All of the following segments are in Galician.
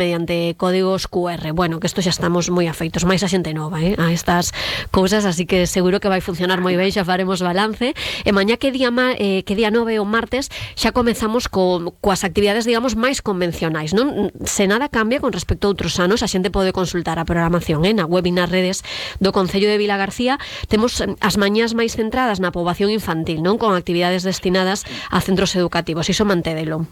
mediante códigos QR. Bueno, que isto xa estamos moi afeitos, máis a xente nova, a estas cousas, así que seguro que vai funcionar moi ben, xa faremos balance. E mañá que día 9 o martes xa comezamos coas actividades, digamos, máis convencionais, non? Se nada cambia con respecto a outros anos, a xente pode consultar a programación na web e nas redes do Concello de Vilagarcía. Temos as mañás máis centradas na poboación infantil, non? Con actividades destinadas a centros educativos. Iso mantédelo.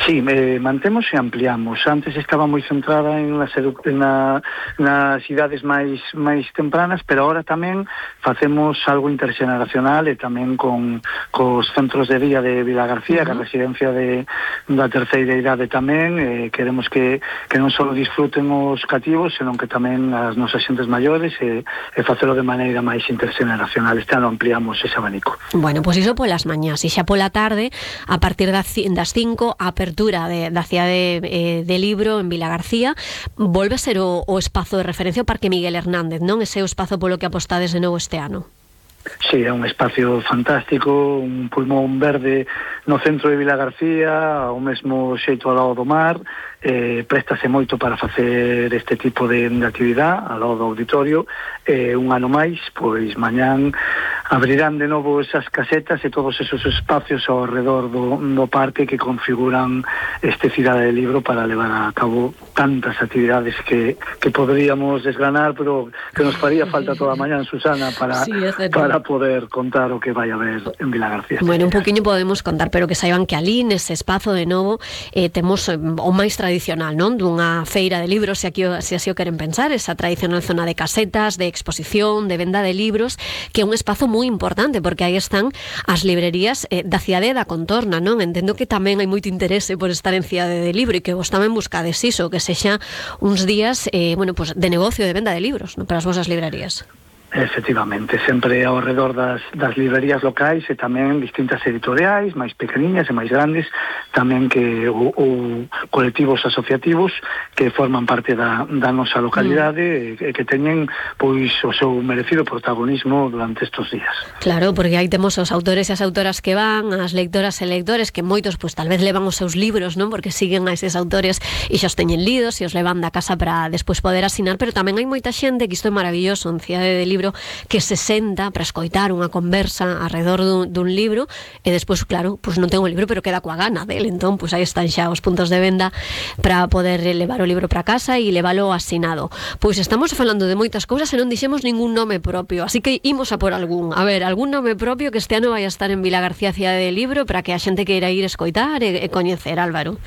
Sí, mantemos e ampliamos. Antes estaba moi centrada en nas idades máis tempranas, pero ahora tamén facemos algo interxeneracional e tamén cos centros de día de Vilagarcía, que a residencia da terceira idade tamén. Queremos que non só disfruten os cativos, senón que tamén as nosas xentes maiores e facelo de maneira máis interxeneracional. Este ano ampliamos ese abanico. Bueno, pois iso polas mañás, e xa pola tarde, a partir das 5, a apertura da cidade de libro en Vilagarcía volve a ser o espazo de referencia o Parque Miguel Hernández, non? Ese é o espazo polo que apostades de novo este ano. Sí, é un espacio fantástico, un pulmón verde no centro de Vilagarcía, ao mesmo xeito ao lado do mar. Préstase moito para facer este tipo de actividade ao lado do auditorio. Un ano máis, pois mañán abrirán de novo esas casetas e todos esos espacios ao redor do parque que configuran este cidade de libro para levar a cabo tantas actividades que poderíamos desgranar, pero que nos faría falta toda a mañán, Susana, para poder contar o que vai haber en Vilagarcía. Bueno, un poquinho podemos contar, pero que saiban que ali nese espazo de novo temos o máis tradicional, non? Dunha feira de libros, se así o queren pensar, esa tradicional zona de casetas, de exposición, de venda de libros, que é un espazo moi importante, porque aí están as librerías da cidade e da contorna, non? Entendo que tamén hai moito interese por estar en cidade de libro e que vos tamén buscades iso, que sexa uns días pues de negocio de venda de libros, non? Para as vosas librerías. Efectivamente, sempre ao redor das librerías locais e tamén distintas editoriais, máis pequeniñas e máis grandes, tamén que ou colectivos asociativos que forman parte da nosa localidade e que teñen pois o seu merecido protagonismo durante estes días. Claro, porque aí temos os autores e as autoras que van, as lectoras e lectores que moitos pois tal vez levan os seus libros, non? Porque siguen a eses autores e xa os teñen lidos e os levan da casa para despois poder asinar, pero tamén hai moita xente, que isto é maravilloso en Cidade de Libro, que se senta para escoitar unha conversa alrededor dun libro e despois, claro, pues non ten o libro pero queda coa gana del, entón pues aí están xa os puntos de venda para poder levar o libro para casa e leválo asinado. Pois estamos falando de moitas cousas e non dixemos ningún nome propio, así que imos a por algún nome propio que este ano vai a estar en Vilagarcía Cidade de Libro para que a xente queira ir escoitar e coñecer, Álvaro.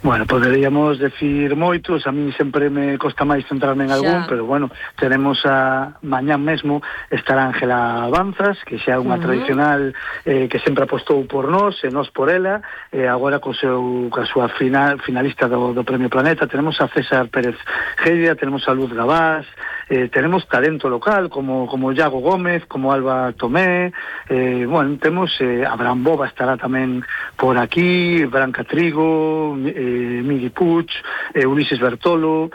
Bueno, poderíamos decir moitos, a mí sempre me costa máis centrarme en algún, pero bueno, tenemos a mañán mesmo estará Ángela Avanzas, que xa é unha tradicional que sempre apostou por nós e nós por ela, agora coa súa finalista do Premio Planeta. Tenemos a César Pérez Geria, tenemos a Luz Gabás, tenemos talento local como Iago Gómez, como Alba Tomé, bueno, temos Abraham Boba estará tamén por aquí, Branca Trigo, Miguel Puig, Ulises Bertolo,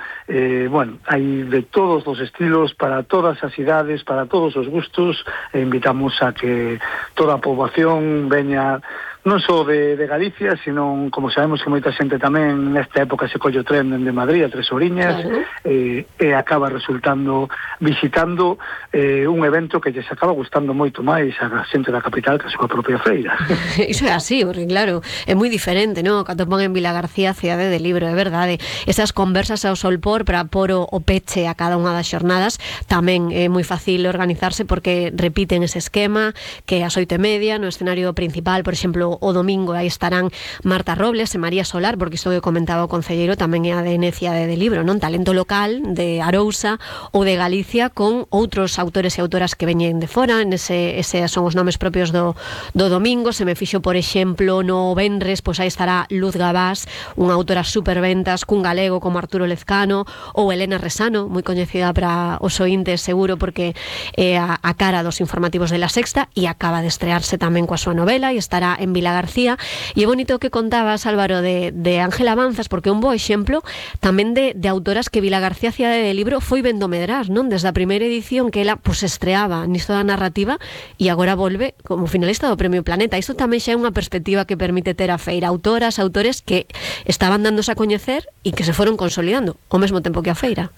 bueno, hai de todos os estilos, para todas as idades, para todos os gustos, e invitamos a que toda a poboación veña non só de Galicia, sino, como sabemos que moita xente tamén nesta época se colle o tren de Madrid a Tres Oriñas, e acaba resultando visitando un evento que lles acaba gustando moito máis a xente da capital que a súa propia feira. Iso é así, porque claro, é moi diferente, non? Cando pon en Vilagarcía Cidade de Libro, é verdade. Esas conversas ao solpor para pôr o peche a cada unha das xornadas tamén é moi fácil organizarse, porque repiten ese esquema que ás 8:30 no escenario principal, por exemplo, o domingo aí estarán Marta Robles e María Solar, porque isto que comentaba o concelleiro tamén é a de Cidade de Libro, non? Talento local de Arousa ou de Galicia, con outros autores e autoras que veñen de fora. Ese son os nomes propios do domingo. Se me fixo, por exemplo, no venres, pois aí estará Luz Gabás, unha autora superventas, cun galego como Arturo Lezcano, ou Elena Resano, moi coñecida para os ointes seguro, porque é a cara dos informativos de La Sexta e acaba de estrearse tamén coa súa novela e estará en Vilagarcía, e é bonito que contabas, Álvaro, de Ángela Banzas, porque é un bo exemplo tamén de autoras que Vilagarcía Cidade de Libro foi vendo medrar, non? Desde a primeira edición que ela pues estreaba nisto da narrativa e agora volve como finalista do Premio Planeta. Isto tamén xa é unha perspectiva que permite ter a feira, autores que estaban dándose a coñecer e que se foron consolidando ao mesmo tempo que a feira.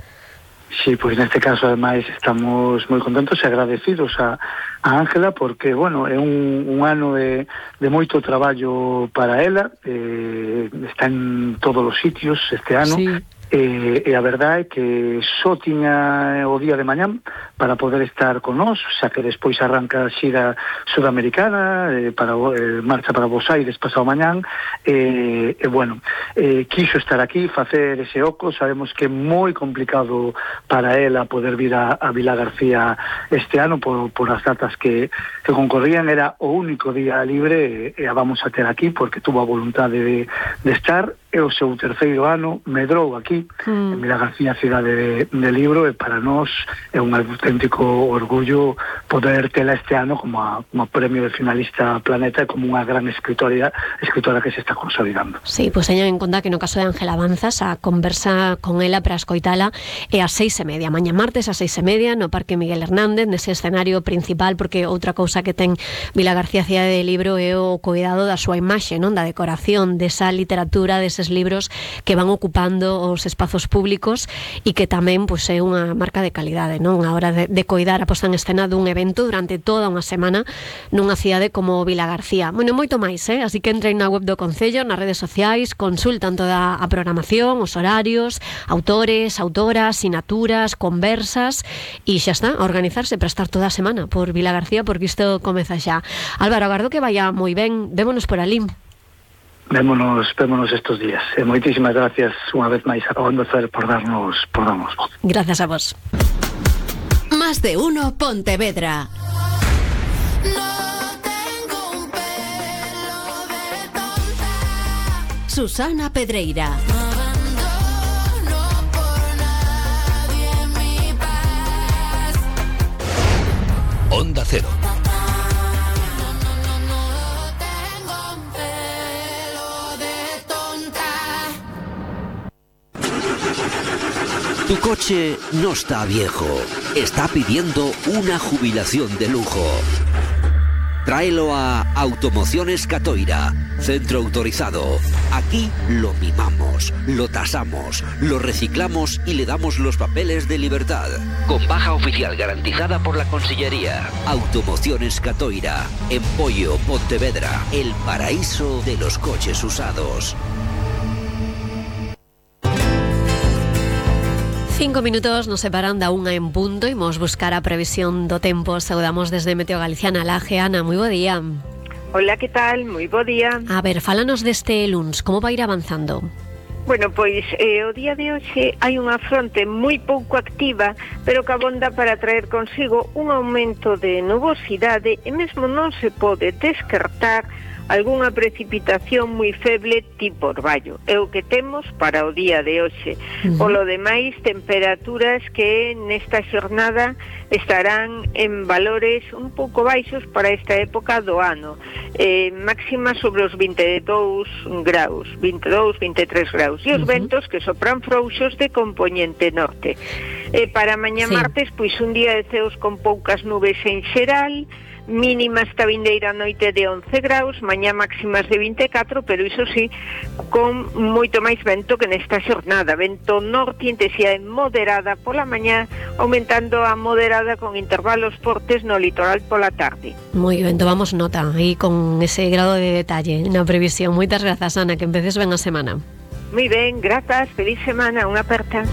Sí, pois neste caso ademais estamos moi contentos e agradecidos a Ángela porque, bueno, é un ano de moito traballo para ela, está en todos os sitios este ano. Sí. E a verdade é que só tiña o día de mañán para poder estar con nós, xa que despois arranca a xira sudamericana, marcha para Buenos Aires pasado mañán, bueno, quiso estar aquí, facer ese oco. Sabemos que é moi complicado para ela poder vir a Vilagarcía este ano por as datas que concorrían. Era o único día libre e a vamos a ter aquí porque tuvo a voluntade de estar. É o seu terceiro ano, medrou aquí en Vilagarcía Cidade de Libro, e para nós é un auténtico orgullo poder tela este ano como premio de finalista Planeta e como unha gran escritora que se está consolidando. Sí, pois teñan en conta que no caso de Ángela Banzas a conversa con ela para escoitala é ás 6:30, mañá martes ás 6:30 no Parque Miguel Hernández, nese escenario principal, porque outra cousa que ten Vilagarcía Cidade de Libro é o cuidado da súa imaxe, non, da decoración, desa literatura, deses libros que van ocupando os espazos públicos e que tamén pois, é unha marca de calidade, non? A hora de coidar a posta en escena dun evento durante toda unha semana nunha cidade como Vilagarcía. Bueno, moito máis, así que entrei na web do Concello, nas redes sociais, consultan toda a programación, os horarios, autores, autoras, sinaturas, conversas, e xa está, a organizarse para estar toda a semana por Vilagarcía, porque isto comeza xa. Álvaro, agardo que vaya moi ben, vémonos por alí. Vémonos estos días. Moitísimas gracias unha vez máis a Onda Cero por darnos voz. Gracias a vos. Más de uno Pontevedra. Susana Pedreira. Onda Cero. Tu coche no está viejo, está pidiendo una jubilación de lujo. Tráelo a Automociones Catoira, centro autorizado. Aquí lo mimamos, lo tasamos, lo reciclamos y le damos los papeles de libertad. Con baja oficial garantizada por la Consellería. Automociones Catoira, en Pollo, Pontevedra, el paraíso de los coches usados. 5 minutos nos separan da 1 en punto. Imos buscar a previsión do tempo. Saudamos desde Meteo Galicia na Laje. Ana, moi bo día. Hola, que tal? Moi bo día. A ver, fálanos deste luns, como vai ir avanzando? Bueno, pois o día de hoxe hai unha fronte moi pouco activa, pero que abonda para traer consigo un aumento de nubosidade e mesmo non se pode descartar algunha precipitación moi feble tipo orballo. É o que temos para o día de hoxe. Polo demais, temperaturas que nesta xornada estarán en valores un pouco baixos para esta época do ano. Máxima sobre os 22 graus, 22, 23 graus. E os ventos que sopran frouxos de compoñente norte. Para mañá martes, pois un día de ceos con poucas nubes en xeral, mínima esta vindeira noite de 11 graus, mañá máximas de 24, pero iso sí, con moito máis vento que nesta xornada. Vento norte, intensidade moderada pola mañá, aumentando a moderada con intervalos fortes no litoral pola tarde. Moi ben, tomamos nota aí con ese grado de detalle na previsión. Moitas grazas, Ana, que empeces ben a semana. Moi ben, grazas, feliz semana, unha aperta.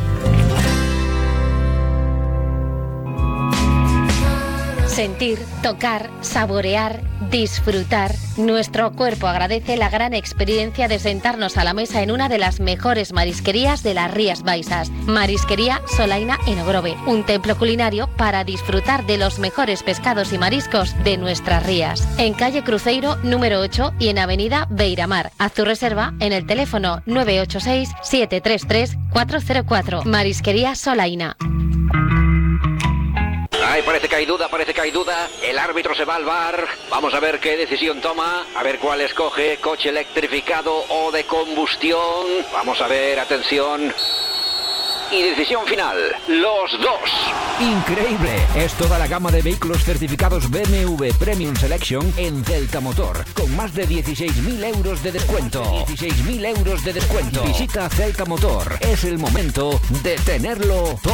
Sentir, tocar, saborear, disfrutar. Nuestro cuerpo agradece la gran experiencia de sentarnos a la mesa en una de las mejores marisquerías de las Rías Baixas. Marisquería Solaina en Ogrove, un templo culinario para disfrutar de los mejores pescados y mariscos de nuestras rías. En calle Cruzeiro, número 8 y en avenida Beiramar. Haz tu reserva en el teléfono 986-733-404. Marisquería Solaina. Ay, parece que hay duda. El árbitro se va al VAR. Vamos a ver qué decisión toma. A ver cuál escoge, coche electrificado o de combustión. Vamos a ver, atención. Y decisión final, los dos. Increíble, es toda la gama de vehículos certificados BMW Premium Selection en Celta Motor, con más de 16.000 euros de descuento. 16.000 euros de descuento. Visita Celta Motor, es el momento de tenerlo todo.